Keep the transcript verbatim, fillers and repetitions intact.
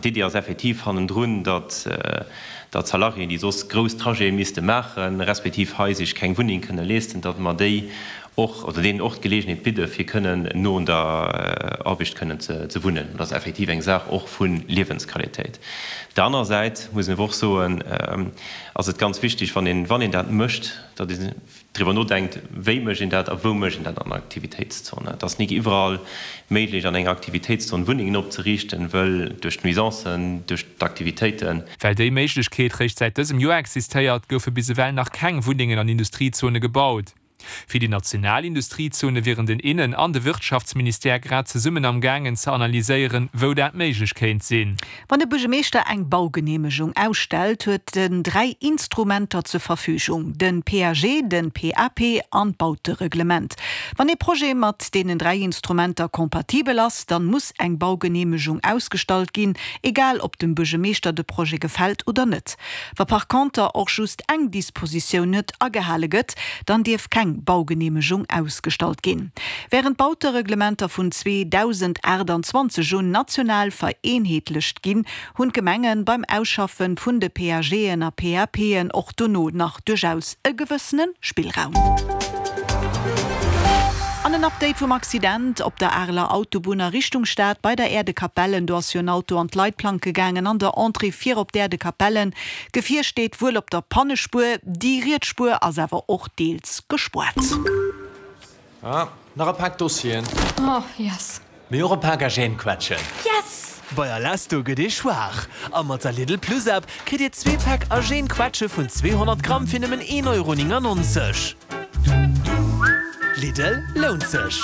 D'Iddi ass effektiv hannendrun, datt datt Salariéen, déi soss grouss Trajete misste maachen, respektiv hei sech keng Wunneng kënne leesten, datt mer déi och, oder deenen och d'Geleegenheet bidde fir kënnen no un der Aarbecht kënnen ze wunnen. Dat ass effektiv eng Saach och vu Liewensqualitéit. Op der anerer Säit muss een awer och soen, ass et ganz wichtig, wann een, wann een dat mécht, datt een driwwer nodenkt, wéi mécht een dat a wou mécht een dat an der Aktivitéitszon. Et ass nik iwwerall méiglech, an enger Aktivitéitszon Wunnengen opzeriichten, wëll duerch d'Nuisancen, duerch d'Aktivitéiten. Well déi Méiglechkeet réischt säit dësem Joer existéiert, goufe bis ewell nach keng Wunnengen an Industriezone gebaut. Fir déi national Industriezone wieren den Innen an de Wirtschaftsministère grad zesummen am gaangen ze analyséieren, wou dat méiglech kéint sinn. Wann de Buergermeeschter eng Baugeneemegung ausstellt, huet en dräi Instrumenter zur Verfügung, den P A G, den P A P an d'Bautereglement. Wann ee Projet mat deenen dräi Instrumenter kompatibel ass, dann muss eng Baugeneemegung ausgestallt ginn, egal ob dem Buergermeeschter de Projet gefält oder net. Wa par conter och just eng Dispositioun net agehale gëtt, dann dierf keng Baugeneemegung ausgestallt ginn. Wärend d'Bautereglementer vun zweedausendaachtanzwanzeg un national vereenheetlecht ginn, hunn d'Gemenge beim Ausschaffe vun de P A Gen a P A Pen och dono nach duerchaus e gewëssene Spillraum. An en Update vum Accident op der Areler Autobunn a Richtung Stad bei der Äerdekapellen. Do ass jo en Auto an d'Leitplanke gaangen an der Entrée fir op d'Äerdekapellen. D'Gefier steet wuel op der Pannespuer, déi riets Spuer ass awer och deels gespaart. Ah, nach e Pak Dossieren. Oh, yes. Mee och e Pak Argentquetschen. Yes! Bei Alesto gëtt ee schwaach. A mat der Lidl Plus App kritt Dir zwee Päck Argentquetsche vun zweehonnert Gramm fir nëmmen een Euro néngennonzeg. Lidl, lount sech!